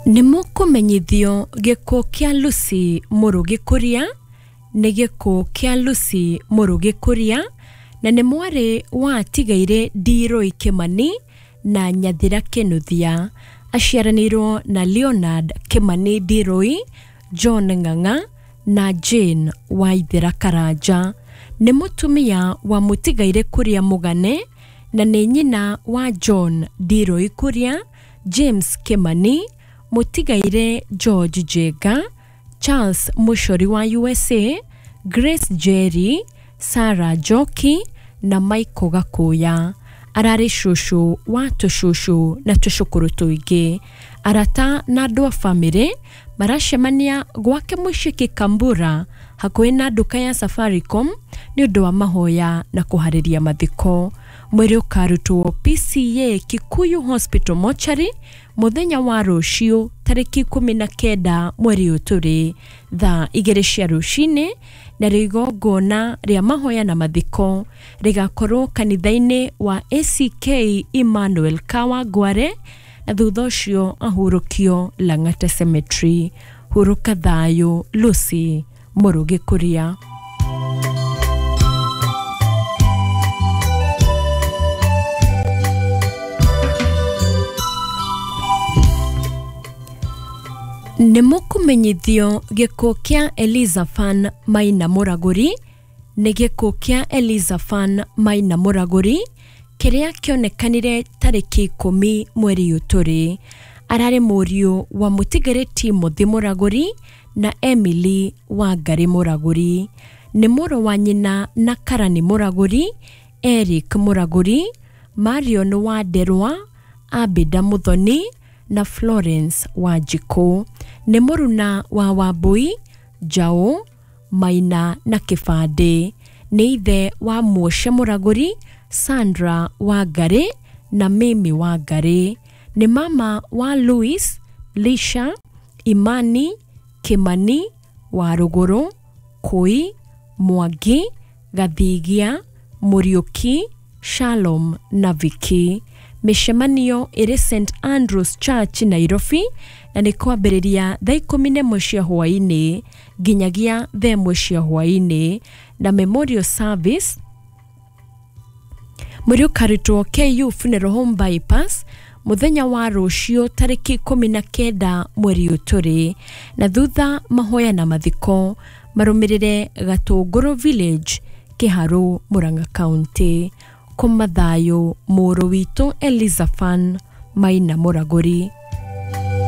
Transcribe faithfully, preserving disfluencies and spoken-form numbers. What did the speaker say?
Nĩ mũkũmenyithio gĩkuũ kĩa Lucy Mũrũgĩ Kuria nĩ gĩkuũ kĩa Lucy Mũrũgĩ Kuria na nĩ mwarĩ wa atigaire Ndiroi Kimani na Nyathira Kinuthia. Aciaranĩirwo na Leonard Kimani Ndiroi, John Ng'ang'a na Jane Waithera Karanja. Nĩ mũtumia wa mũtigaire Kuria Mũgane na nĩ nyina wa John Ndiroi Kuria, James Kimani, mũtigaire George Njenga, Charles Muchori wa U S A, Grace Jerry, Sarah Njoki na Michael Gakuya. Ararĩ cũcũ wa tũcũcũ na tũcũkũrũ tũingĩ. Arata na andũ a bamĩrĩ maracemania gwake mũciĩ Kikambura hakuhĩ na nduka ya Safaricom nĩ ũndũ wa mahoya na kũharĩria mathiko. Mwĩrĩ ũkarutwo P C A Kikuyu Hospital Mortuary mũthenya wa rũciũ tarĩki ikũmi na kenda mweri ũyũ tũrĩ thaa igĩrĩ cia rũcinĩ, narĩo igongona rĩa mahoya na mathiko rĩgakorwo kanitha-inĩ wa A C K Emmanuel Kawangware, na thutha ũcio ahurũkio Lang'ata Cemetery. Hurũka thayũ Lucy Mũrũgĩ Kuria. Nĩ mũkũmenyithio gĩkuũ kĩa Elizaphan Maina Mũragũri nĩ gĩkuũ kĩa Elizaphan Maina Mũragũri kĩrĩa kĩonekanire tarĩki ikũmi mweri ũyũ tũrĩ. Ararĩ mũriũ wa mũtigĩrĩ Timothy Mũragũri na Emily Wangari Mũragũri. Nĩ mũrũ wa nyina na Karani Mũragũri, Eric Mũragũri, Marion Wanderwa, Abida Muthoni na Florence Wanjikũ. Nĩ mũruna wa Wambui, Njaũ, Maina na Kĩbandĩ. Nĩ ithe wa Muoshe Mũragũri, Sandra Wangari na Mimi Wangari. Nĩ mama wa Louis, Lisha, Imani, Kimani, Warũgũrũ, Kũi, Mwangi, Gathigia, Mũriũki, Shalom na Vicky. Mĩcemanio ĩrĩ Saint Andrews Church Nairobi na nĩ kwambĩrĩria thaa ikũmi na ĩmwe cia hwaĩ-inĩ nginyagia thaa ĩmwe cia hwaĩ-inĩ, na memorial service mwĩrĩ ũkarutwo K U Funeral Home Bypass mũthenya wa rũciũ tarĩki ikũmi na kenda mweri ũyũ tũrĩ, na thutha mahoya na mathiko marũmĩrĩre Gatũngũrũ Village, Kĩharũ, Murang'a County. Kũma thayũ mũrũ witũ Elizaphan Maina Mũragũri.